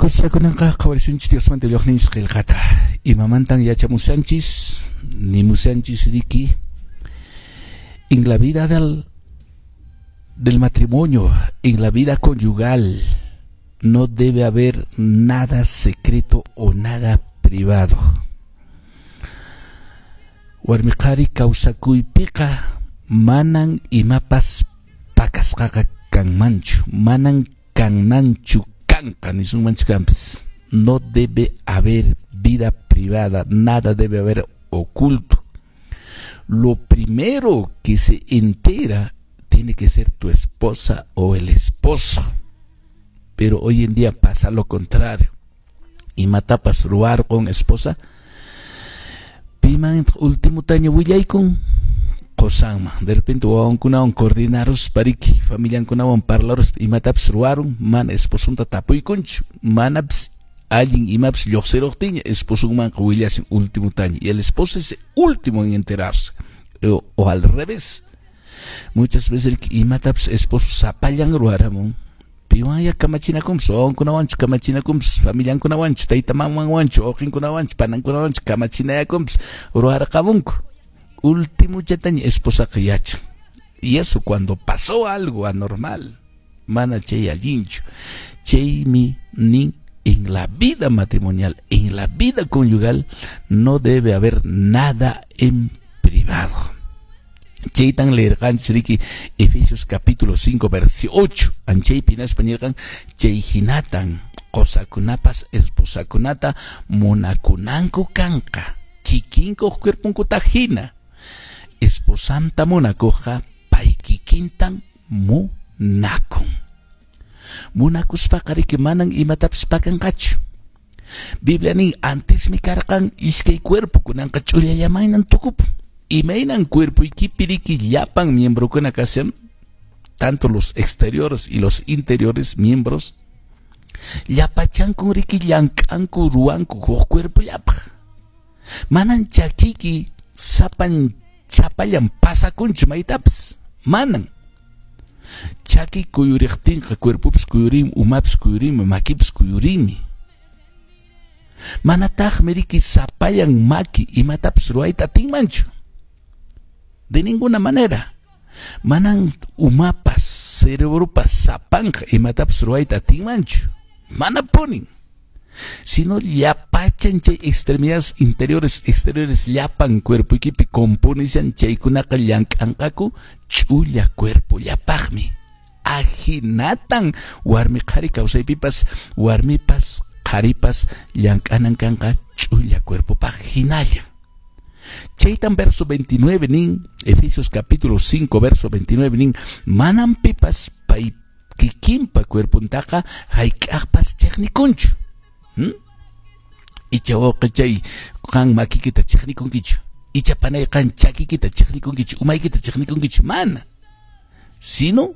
Hakuchá kunanqa qhawarisunchis Diosmanta willaqninchis qillqata. Imamantan yachamushanchis, nimushanchis riki? En la vida del matrimonio, en la vida conyugal, no debe haber nada secreto o nada privado. Warmi qhari kawsakuypiqa manan imapas pakasqaqa kanmanchu, manan kananchu kanqa nisunmanchu kanpis. No debe haber vida privada, nada debe haber oculto. Lo primero que se entera tiene que ser tu esposa o el esposo. Pero hoy en día pasa lo contrario. Imatapas ruwarqun esposa, piman ultimotaña willaykun? Qosanman. De repente wawankunawan coordinaruspa riki, familiankunawan parlaruspa imatapas ruwarun, mana esposonta tapuykunchu, manapis allin imapas lluqsiruqtinña esposonmanqa willasin ultimotaña. Y el esposo es el último en enterarse. O al revés. Muchas veces imatapas esposo sapallan ruwaramun. Piwanya kamachinakunpas, wawankunawanchu kamachinakunpas, familiankunawanchu, tayta mamanwanchu, wawqinkunawanchu, panankunawanchu kamachinayakunpas ruwarqamunku. Último chataña esposaqa yachan. Y eso cuando pasó algo anormal, mana chay allinchu. Chaymi nin en la vida matrimonial, en la vida conyugal, no debe haber nada en privado. Chaytan leerqanchis riki Efesios capítulo 5 versículo 8. Anchaypi hinaspa nirqan chay hinatan qosakunapas esposakunata munakunanku kanqa kikinkuq cuerponkuta hina. Esposanta munakuqqa pay kikintan munakun. Munakuspaqa riki manan imatapas pakanqachu. Biblia nin antesmi karqan iskay cuerpo kunanqa ch'ullallamaynan tukupun. Imaynan cuerpoykipi riki llapan miembrokuna kashan, tanto los exteriores y los interiores miembros, llapachankun riki llank'anku ruwanku huk cuerpollapaq. Manan chakiyki sapan sapallan pasakunchu maytapas, manan. Chaki kuyuriqtinqa cuerpopis kuyurinmi, umapis kuyurinmi, makipis kuyurinmi. Manataqmi riki sapallan maki imatapas ruwayta atinmanchu. De ninguna manera. Manan umapas, cerebropas sapanqa imatapas ruwayta atinmanchu. Manapunin. Sino llapachan chay extremidades interiores, exteriores llapan cuerpoykipi componishan chaykunaqa llank'anqaku ch'ulla cuerpo llapaqmi. Ahinatan warmi qhari kawsaypipas warmipas qharipas llank'anan kanqa ch'ulla cuerpopaq hinalla. Chaytan verso 29 nin, Efesios capítulo 5 verso 29 nin, manan pipas pay kikinpa cuerpontaqa hayk'aqpas chiqnikunchu. Icha wawqi chay qan makikita chiqnikunkichu, icha panay qan chakikita chiqnikunkichu, umaykita chiqnikunkichu, mana. Sino